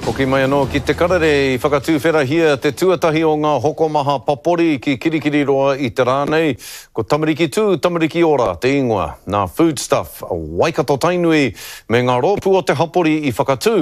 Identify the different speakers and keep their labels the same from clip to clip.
Speaker 1: Hoki mai anō ki Te Karere i whakatuwherahia te tuatahi o ngā hokomaha papori ki Kirikiriroa i te rā nei. Ko Tamariki Tū, Tamariki Ora te ingoa. Nā Foodstuff, Waikato Tainui me ngā rōpū o te hapori i whakatū,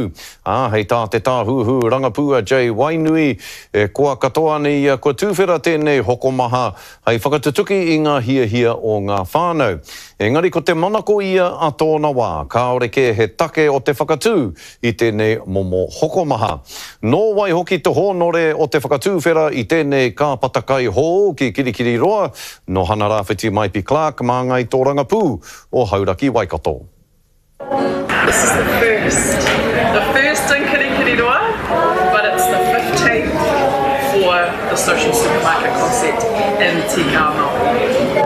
Speaker 1: ā, hei tā te tāhuhu rangapū a Jay Wainui, e koa katoa ana ia kua tuwhera tēnei hokomaha hei whakatutuki i ngā hiahia o ngā whānau. Engari ko te manako ia a tōna wā, kāore kē he take o te whakatū i tēnei momo hokomaha. Nō wai hoki te hōnore o te whakatūwhera i tēnei kāpata kai hou ki Kirikiriroa, nō Hana Rāwhiti Maipi Clarke māngai tōrangapū o Hauraki Waikato.
Speaker 2: This is the first, the first in Kirikiriroa, but it's the 15th for the social supermarket concept in Te Ao Māori.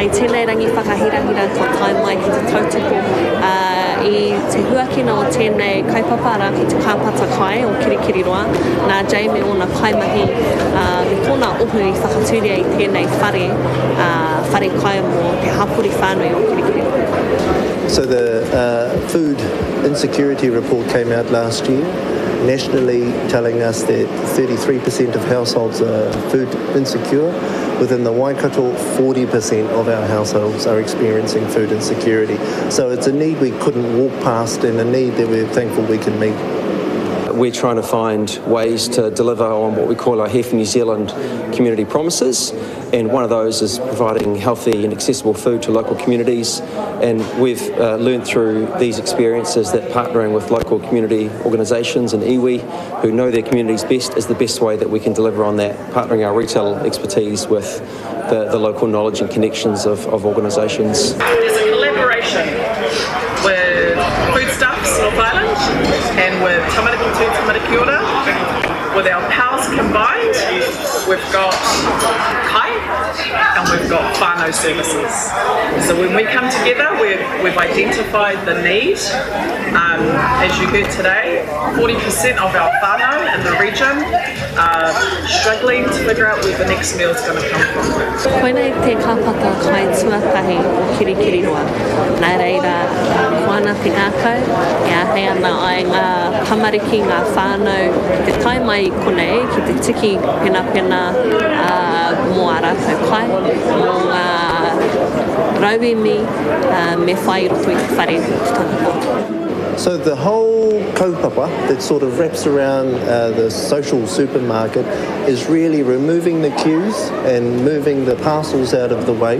Speaker 3: I tēnei rangi whakahirahira kua tae mai ki te tautoko i te huakina o tēnei kaupapa, arā ko te kāpata kai o Kirikiriroa, nā Jay me ōna kaimahi me tōna ohu i whakatūria i tēnei whare, whare kai mō te hapori whānui o Kirikiriroa.
Speaker 4: So the food insecurity report came out last year, nationally telling us that 33% of households are food insecure. Within the Waikato, 40% of our households are experiencing food insecurity. So it's a need we couldn't walk past and a need that we're thankful we can meet.
Speaker 5: We're trying to find ways to deliver on what we call our Here for New Zealand community promises, and one of those is providing healthy and accessible food to local communities. And we've uh, learned through these experiences that partnering with local community organisations and iwi who know their communities best is the best way that we can deliver on that, partnering our retail expertise with the, the local knowledge and connections of, of organisations.
Speaker 2: There's a collaboration with Foodstuffs North Island and with Tamariki Tū Tamariki Ora. With our powers combined, we've got kai and we've got whānau services. So when we come together, we've, we've identified the need. Um, as you heard today, 40% of our whānau in the region are struggling to figure out where the next meal is going to come from.
Speaker 3: Koinei te kāpata kai tuatahi o Kirikiriroa. Nā reira, koa ana te ngākau, e āhei ana ai ngā tamariki, ngā whānau ki te tae mai i konei, ki te tiki penapena mō ā rātou kai, mō ngā rauemi me whai i roto i te whare te tangata.
Speaker 4: So the whole kaupapa that sort of wraps around uh, the social supermarket is really removing the queues and moving the parcels out of the way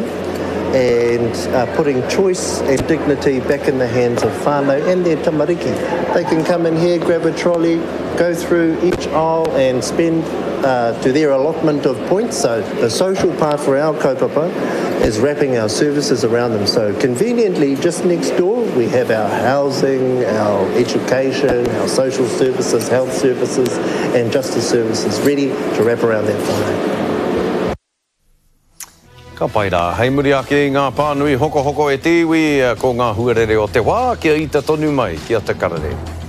Speaker 4: and uh, putting choice and dignity back in the hands of whānau and their tamariki. They can come in here, grab a trolley, go through each aisle and spend uh, to their allotment of points. So the social part for our kaupapa is wrapping our services around them. So conveniently, just next door, we have our housing, our education, our social services, health services, and justice services ready to wrap around that whānau.
Speaker 1: Ka pai rā. Hei muri ake i ngā pānui hokohoko e te iwi, ko ngā huarere o te wā kia ita tonu mai ki a Te Karere.